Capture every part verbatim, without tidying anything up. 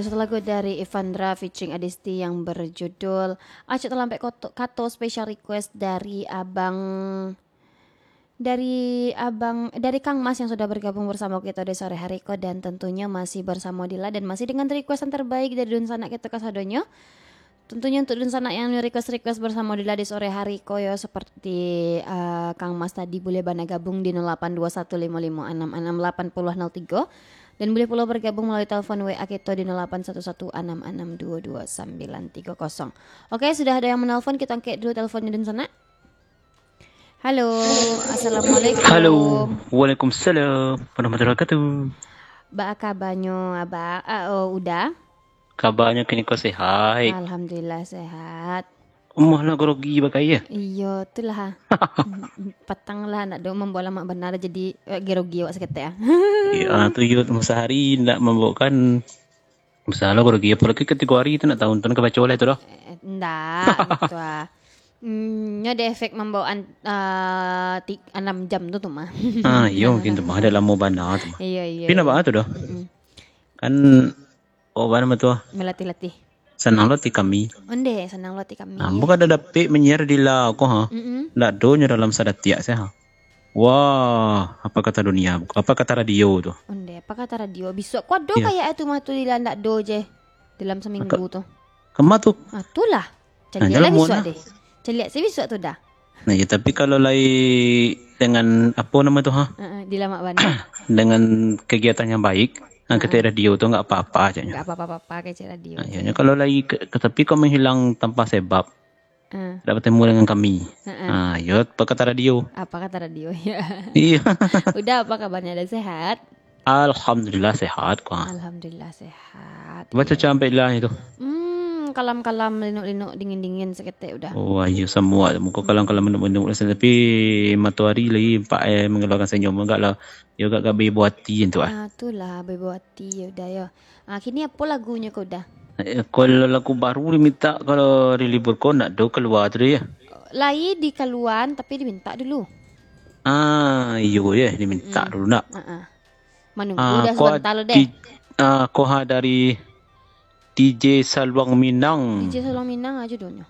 Satu lagu dari Evandra featuring Adisti yang berjudul Acok Talampek Koto-, Kato, special request dari abang, dari abang, dari Kang Mas yang sudah bergabung bersama kita di sore hari ko, dan tentunya masih bersama Dila dan masih dengan request yang terbaik dari dunsanak kita kasadonyo. Tentunya untuk dunsanak yang request-request bersama Dila di sore hari ko yo, seperti, eh, Kang Mas tadi, boleh bana gabung di nol delapan dua satu limo limo anam anam delapan puluh nol tiga. Dan boleh pulo bergabung melalui telepon W A kito di nol delapan satu satu anam anam dua dua sambilan tiga kosong. Oke, sudah ada yang menelpon, kita angkek dulu teleponnya dunsanak. Halo, assalamualaikum. Halo, waalaikumsalam warahmatullahi wabarakatuh. Ba kabanyo, Abah? Ah, oh, Uda? Kabanyo kini ko sehat. Alhamdulillah, sehat. Umah lah grogi bagai ya? Iyo, tu lah. Patang lah, nak do mambawa lamak bana, jadi, eh, grogi awak saketek, ah. Iyo, ah, tu yo, sahari nak mambawakan, masalah grogi, apalagi katigo hari tu nak tahu, tu nak kabaco lah tu doh. Eh, ndak, gitu ah. Hmm, nyo ada efek mambawaan, ah, ti-, anam jam tu, tu mah. Ah, iyo, mungkin tu mah, ada lamo bana tu mah. Iyo, iyo, Tapi nak iyo. Baa tu doh? Mm-mm. Kan Oh, bana mah tu ah. Melatih-latih. Sanang lo ati kami. Onde, sanang lo ati kami. Ah, bukan ada dapik manyiar Dila ko, ha. Mm-mm. Ndak do nyo dalam sadatiak se, ha. Wah, apa kata dunia? Apa kata radio tu? Onde, apa kata radio? Bisuak ko ado Iyo. Kayak itu mah tu Dila ndak do je dalam seminggu Ka-, tu. Kama tu? Ah, tu lah. Nah, Caliak lah jalan bisuak muan deh. Caliak se bisuak tu dah. Nah, ya, tapi kalau lai dengan, apo namo tu, ha? Heeh, dilamak bana. Dengan kegiatan yang baik, ha, Heeh. Ketek radio tu nggak apa-apa, caknyo. Nggak apa-apa, apa-apa, kecek radio Nah, tu. Iyanyo kalau lai ke, ke tepi kau menghilang tanpa sebab, Heeh. Tidak bertemu dengan kami. Heeh. Ha, yo, apa kata radio? Apa kata radio, ya. Iya. Uda, apa kabarnya? Ada sehat? Alhamdulillah, sehat, ko. Alhamdulillah, sehat. Baco Iya. Sampai lah itu. Hmm, kalam-kalam, linuk-linuk, dingin-dingin saketek Uda. Oh, ayo, semua. Muka kalam-kalam, linuk-linuk, tapi matoari lagi, empat, eh, mengeluarkan senyum. Agak lah, yo, agak-agak beribu hati tu, ah. Ah, tu lah, beribu hati, ya Uda, ya. Ah, kini apo lagunyo ko Uda? Eh, kalau lagu baru diminta, kalau di libur ko nak do kalua tu, ya? Lai dikaluan, tapi diminta dulu. Ah, iyo, ya, diminta Hmm. dulu nak. Ah, ah. Manunggu Ah, dah ko sabanta lo deh. di-, ah, ko ha dari D J Saluang Minang. D J Saluang Minang aja judulnyo.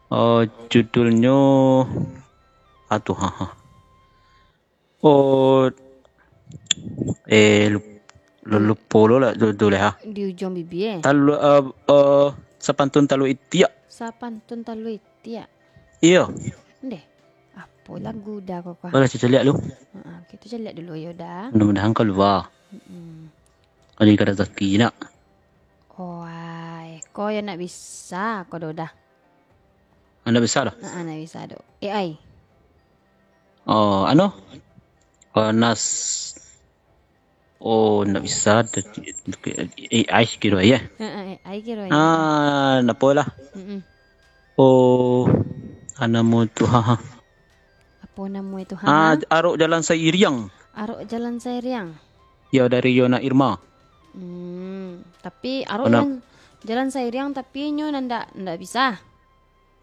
Oh, judulnyo, aduh, ha, ha. Oh, eh, lup-, lu-, lupo lo lah judul, ha. Di ujung bibia, eh? Talu-, eh, eh, Sapantun Talua Itiak. Sapantun Talua Itiak. Iyo. Ndeh. Apo lagu Uda ko, ko? Boleh caliak lu. Heeh, kito caliak dulu yo, Uda. Mudah-mudahan kalua. Mm-mm. Kalau ikan rezeki nak. Oai, ko yo nak bisa ko do Uda. Ndak bisa doh? Heeh, ndak bisa doh. A I. Oh, anu? Oh, nas-, oh, ndak bisa doh. A I kiro ya? Heeh, A I kiro ya. Ah, ndak apolah. Mm-mm. Oh, anu tu, ha, ha. Apo namo itu, Ah, ha? Arok Jalan Sairiang. Arok Jalan Sairiang. Yo, dari Yona Irma. Hmm, tapi Arok Jalan, Jalan Sairiang, tapi nyo ndak, ndak bisa.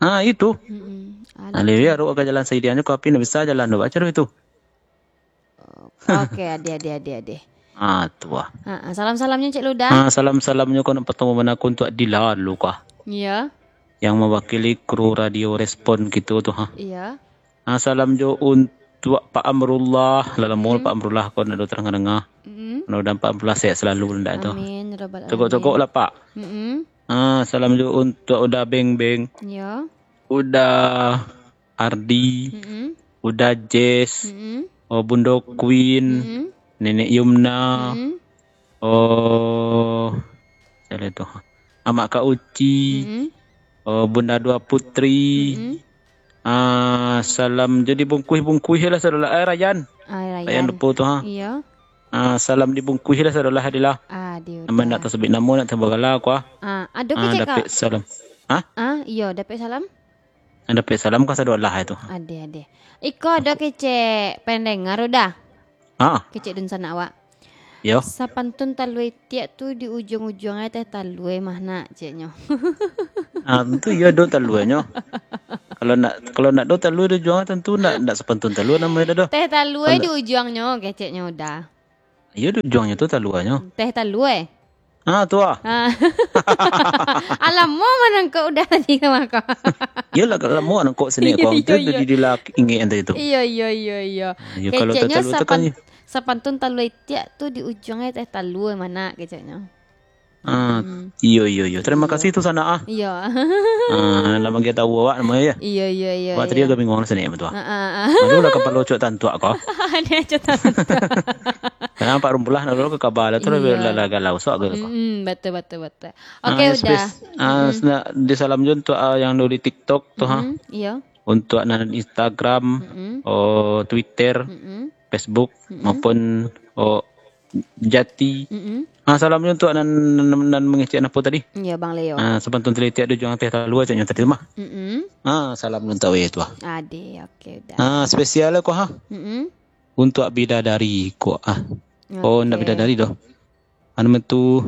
Ah, itu. Mm-mm. Alah. Alih arok ka Jalan Sairiang nyo, tapi ndak bisa jalan tu. Baco itu. Oke, ade, ade, ade, ade. Ah, tu ah. Ha, ha, salam-salamnyo, Cik Luda. Ah, salam-salamnyo ko nan partamo bana ko untuak Dila dulu kah. Iya. Yang mewakili kru Radio Respon kito tu, ha. Iya. Ah, salam jo untuak Pak Amrullah. Lah lamo Mm-mm. Pak Amrullah ko ndak do tarang danga. Mm-mm. Mudah-mudahan Pak Amrullah sehat selalu ndak tu. Amin, ya rabbal alamin. Togok-togok lah, Pak. Mm-mm. Ah, salam jo untuak Uda Beng Beng. Iya. Uda Ardi. Mm-mm. Uda Jess. Mm-mm. Oh, Bundo Queen. Mm-mm. Nenek Yumna. Mm-mm. Oh, siapa tu? Amak Kak Uci. Mm-mm. Oh, Bunda Dua Putri. Mm-mm. Ah, salam jadi bungkuih-bungkuih lah sadolah. Eh, Rayan. Ah, Rayan Rayan. Depo tu, ha. Iya. Ah, salam dibungkuih lah sadolah, Adila. Aduh, Nama dah. Nak tasebut namo, nak tabagala aku, ah. Ah, ado Ah, kecek, Kak? Dapek salam. Ha? Ah, iyo, dapek salam. Dapek salam ka sadolah itu. Ade, ade. Iko ado kecek pendengar Uda. Ha. Kecek dunsanak awak. Yo. Sapantun talua itiak tu di ujung-ujung ai teh talua mah nak, ceknyo. Ah, tentu iyo do taluanyo. Kalau nak, kalau nak do talua di ujung ai, tentu nak, nak sapantun talua namonyo do. Teh talua Kalau di ujuangnyo, keceknyo Uda. Iyo di ujuangnyo tu taluanyo. Teh talua. Ah, tu ah. Ah. Alamak, manangkok udah tadi ka mako. Iyolah, kalau lamo nangkok sini Iyo, ko. Itu iyo, iyo. Di, di lah ingek tadi tu. Iyo, iyo, iyo, iyo. Iyo, kalau Keceknyo tatalu tu kan sapan-, sapantun talua itiak tu di ujuang teh talua mana keceknyo. Ah, Hmm. iyo, iyo, iyo. Terima Iyo. kasih tu sana ah. Iyo. Ah, lah manggia tahu awak nama ya. Iyo, iyo, iyo, Awak tadi iyo. agak bingung lah sini betul. Ah, ah, ah. Aduh, lah kapalo cok tantuak ko. Ada cok tantuak. Nampak rumpulah nak dulu ke kabar lah tu lah Iyo. biar lah, lah galau sok ke ko. Mm-mm, betul, betul, betul. Ah, Oke, ya, udah. space. Ah, Mm-mm. sena-, di salam jo untuk, ah, yang dulu di TikTok tu ha. Mm-mm, iyo. Untuk nan Instagram, Mm-mm. oh, Twitter, Mm-mm. Facebook, Mm-mm. maupun, oh, Jati. Mm-mm. Ah, salam jo untuk nan, nan, nan mangecek apo tadi? Iyo, Bang Leo. Ah, sapantun talua itiak di ujuang teh talua caknyo tadi tu mah. Mm-mm. Ah, salam jo untuk awak tu ah. Ade, oke, udah. Ah, spesial ko ha. Mm-mm. Untuk bidadari ko ah. Oh, ndak Oke. bidadari doh. Anu tu,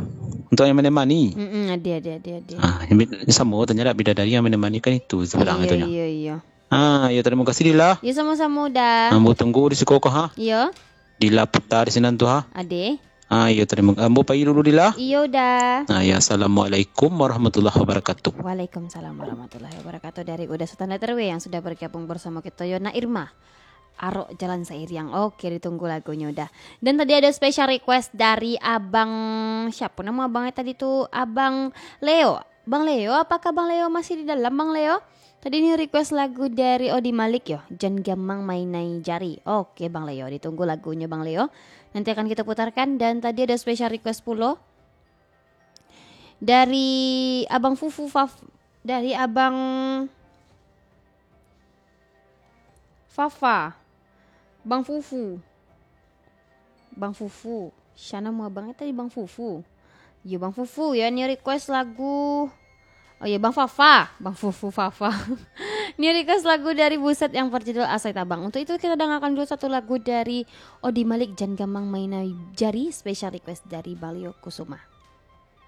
untuk yang menemani. Mm-mm, ade, ade, ade, ade. Ah, yang bid-, samo tanyo dak bidadari yang menemani kan itu seberang Iyo, itu nyo. iyo, iyo. Ah, yo, terima kasih Dila. Yo, samo-samo, Da. Ambo tunggu di siko ko ha. Iyo. Dila Puta di sinan tu ha. Ade. Ah, yo, terima, ambo pai dulu Dila. Iyo, Da. Ah, ya, assalamualaikum warahmatullahi wabarakatuh. Waalaikumsalam warahmatullahi wabarakatuh. Dari Uda Sultan Letter W yang sudah bergabung bersama kita, yo, Nak Irma. Arok Jalan Sairiang. Oke, ditunggu lagunyo, Da. Dan tadi ada special request dari Abang, siapa nama abangnya tadi tu? Abang Leo. Bang Leo, apakah Bang Leo masih di dalam, Bang Leo? Tadi ni request lagu dari Odi Malik yo, Jan Gamang Mainai Jari. Oke, Bang Leo, ditunggu lagunyo, Bang Leo. Nanti akan kita putarkan. Dan tadi ada special request pulo dari Abang Fufu Faf-, dari Abang Fafa. Bang Fufu. Bang Fufu. Sia namo abang tadi, Bang Fufu? Yo, Bang Fufu, yo, ni request lagu. Oh, yo, Bang Fafa. Bang Fufu, Fafa. Ni request lagu dari Buset yang berjudul Asai Tabang. Untuk itu, kita dengarkan dulu satu lagu dari Odi Malik, Jan Gamang Mainai Jari, special request dari Bang Leo Kusuma.